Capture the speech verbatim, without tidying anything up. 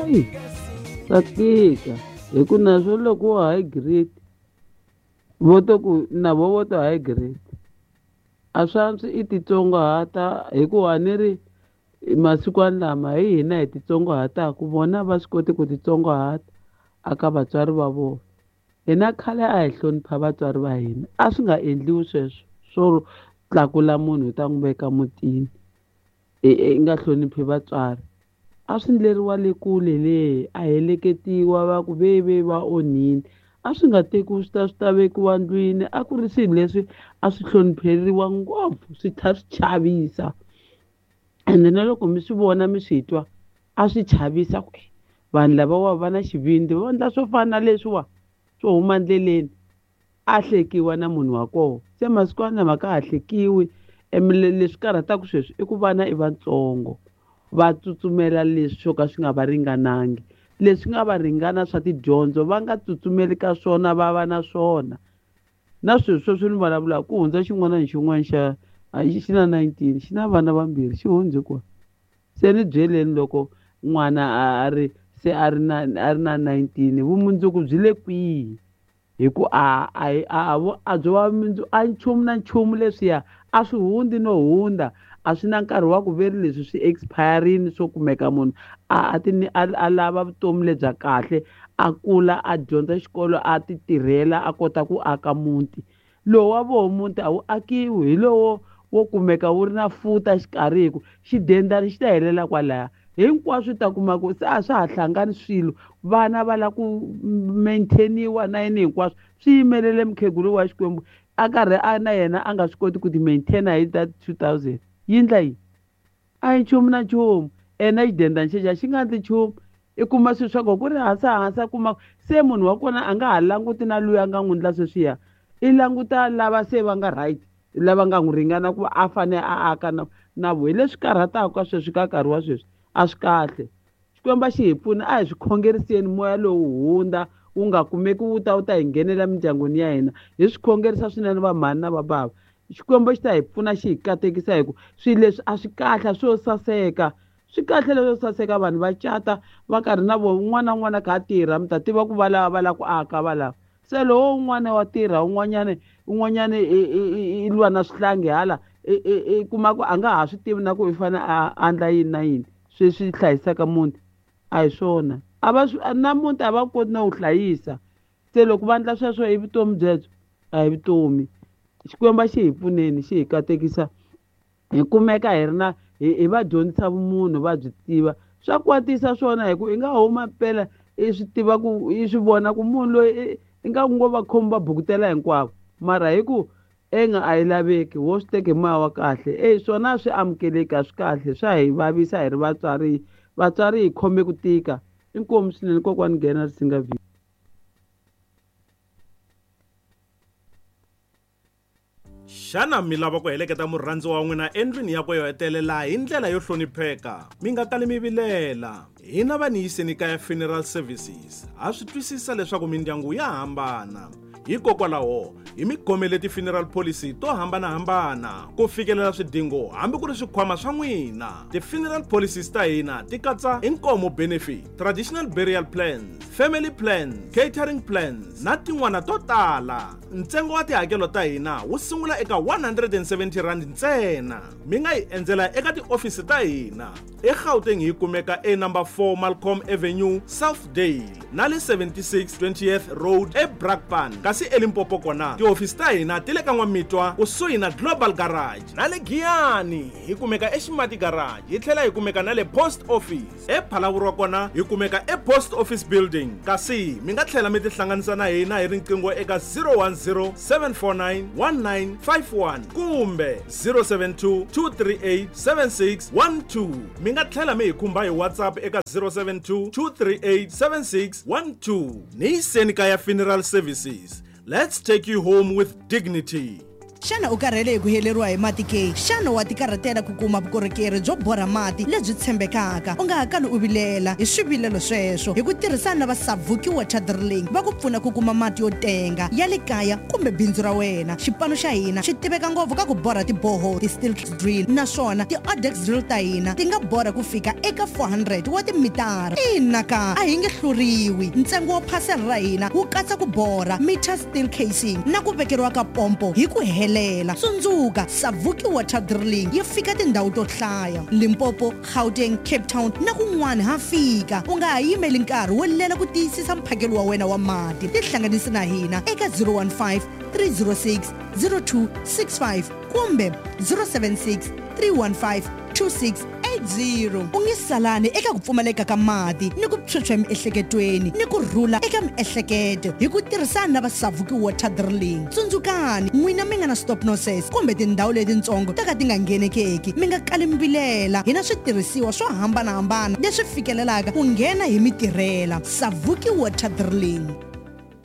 Ayi swa tika hi ku naswo loko wo high grade vo to ku na vo vo to high grade a swi antswi i titsongahata hikuva ni ri masikwani lama hi hina hi titsongahataka vona va swi koti ku titsongahata aka vatswari va vona. Hina khale a hi hlonipha vatswari va hina a swi nga endliwi sweswo swo tlakula munhu u ta n'wi veka mutini i nga hloniphi vatswari. A swi endleriwa le kule le a heleketiwa va ku ve ve va onhile a swi nga tekiwi swi ta swi ta vekiwa ndlwini a ku ri swilo leswi a swi hlonipheriwa ngopfu swi tlhela swi chavisa ende na loko mi swi vona mi swi twa a swi chavisa ku vanhu lavawa va na xivindzi va endla swo fana na leswiwa swo huma ndleleni a hlekiwa na munhu wa kona se masikwana lama ka ha hlekiwi leswi karhataka sweswi i ku vana i vatsongo va tsutsumela leswi swo ka swi nga va ringanangi leswi nga va ringana swa tidyondzo va nga tsutsumeli ka swona va va na swona na sweswi sweswi ni vulavulaka ku hundza xin'wana na xin'wana xa xi na nineteen xi na vana vambirhi xi hundze kona se ni byeleni loko n'wana a ri se a ri na a ri na nineteen vumundzuku byi le kwihi hi ku a a a a byo va mundzuku a nchumu na nchumu leswiya a swi hundzi no hundza a swi na nkarhi wa ku veri leswi swi expire-rini swo kumeka munhu a a ti a lava vutomi lebya kahle a kula a dyondza xikolo a ti tirhela a kota ku aka muti lowu wa voho muti a wu akiwi hi lowo wo kumeka wu ri na futa xikarhi hi ku xidendani xi ta helela kwalaya hinkwaswo ta kuma ku se a swa ha hlangani swilo vana va lava ku maintainiwa na yini hinkwaswo swi yimelele mukhegulu wa Xikwembu a karhi a na yena a nga swi koti ku ti maintaina hi that two thousand yi ndla yini a hi nchumu na nchumu ene xidendani xexa xi nga ndli nchumu i kuma swilo swa kona ku ri hansi hansi a kuma se munhu wa kona a nga ha languti na luya a nga n'wi ndla sweswiya i languta lava se va nga right lava nga n'wi ringana ku a fanele a aka na na vo hi leswi karhataka ka sweswi ka nkarhi wa sweswi a swi kahle Xikwembu xi hi pfuna a hi swi khongeriseni moya lowu hundza wu nga kumeki wu ta wu ta hi nghenela mindyangwini ya hina hi swi khongerisa swinene va mhani na va bava Xikwembu xi ta hi pfuna xi hi katekisa hi ku swilo leswi a swi kahle swo saseka swi kahle leswo saseka vanhu va cata va karhi na vo un'wana na un'wana kha a tirha mi ta tiva ku va lava va lava ku aka va lava se lowo un'wana wa tirha un'wanyana un'wanyana i lwa na swihlangi hala i kuma ku a nga ha swi tivi na ku i fanele a endla yini na yini sweswi hlayisaka muti a hi swona a va na muti a va koti na wu hlayisa se loko va endla sweswo i vutomi byebyo a hi vutomi Xikwembu xi hi pfuneni xi hi katekisa hi kumeka hi ri na hi va dyondzisa vumunhu va byi tiva swa kwatisa swona hi ku i nga huma mpela i swi tiva ku i swi vona ku munhu loyi i nga ngo va khomi va bukutela hinkwavo mara hi ku enga a yi laveki wo swi teke moya wa kahle e swona swi amukeleki a swi kahle swa hi vavisa hi ri vatswari vatswari hi khome ku tika inkomu swinene kokwani nghena Risinga V. Xana mi lava ku heleketa murhandzi wa n'wina endlwini yakwe yo hetelela hi ndlela yo hlonipheka? Mi nga kali mi vilela. Hina va Niyiseni Kaya Funeral Services ha swi twisisa leswaku mindyangu ya hambana. Hikokwalaho hi mi khomele ti-funeral policy to hambanahambana ku fikelela swidingo hambi ku ri swikhwama swa n'wina. Ti-funeral policies ta hina ti katsa inkomo benefit, traditional burial plans, family plans, catering plans na tin'wana to tala. Ntsengo wa tihakelo ta hina wu sungula eka one hundred and seventy rand ntsena. Mi nga hi endzela eka tiofisi ta hina eGauteng hi kumeka e number four Malcolm Avenue, Southdale na le seventy-six twentieth Road eBrakpan. Kasi eLimpopo kona tiofisi ta hina ti le ka N'wamitwa kusuhi na Global Garage na le Giyani hi kumeka eXimati Garage hi tlhela hi kumeka na le Post Office. ePhalaborwa kona hi kumeka ePost Office Building. Kasi mi nga tlhela mi tihlanganisa na hina hi riqingho eka zero one zero seven four nine one nine five one kumbe zero seven two two three eight seven six one two. Mi nga tlhela mi hi khumba hi WhatsApp eka zero seven two two three eight seven six one two. Niyiseni Kaya Funeral Services. Let's take you home with dignity. Xana u karhele hi ku heleriwa hi mati ke? Xana wa tikarhatela ku kuma vukorhokeri byo borha mati lebyi tshembekaka? U nga ha kali u vilela hi swivilelo sweswo hi ku tirhisana na va Savuki Water Drilling va ku pfuna ku kuma mati yo tenga ya le kaya kumbe bindzu ra wena. Xipano xa hina xi tiveka ngopfu ka ku borha tiboho, ti-steel drill, naswona ti-odex drill ta hina ti nga borha ku fika eka four hundred wa timitara. Ina ka a hi nge hluriwi. Ntsengo wa phasela ra hina wu katsa ku borha meter steel casing na ku vekeriwa ka pompo hi ku helela. Tsundzuka, Savuki Water Drilling yi fika tindhawu to hlaya: Limpopo, Gauteng, Cape Town na kun'wana ha fika. U nga ha yimeli nkarhi wo lela ku tiyisisa mphakelo wa wena wa mati. Tihlanganisi na hina eka zero one five, three zero six, zero two six five kumbe zero seven six, three one five, two six eight zero. U nge salani eka ku pfumaleka ka mati ni ku phyuphya emiehleketweni ni ku rhula eka miehleketo hi ku tirhisana na va Savuki Water Drilling. Tsundzukani, n'wina mi nga na stop nonsense kumbe tindhawu letitsongo to ka ti nga nghenekeki, mi nga kali mi vilela. Hi na switirhisiwa swo hambanahambana leswi fikelelaka ku nghena hi mitirhela. Savuki Water Drilling.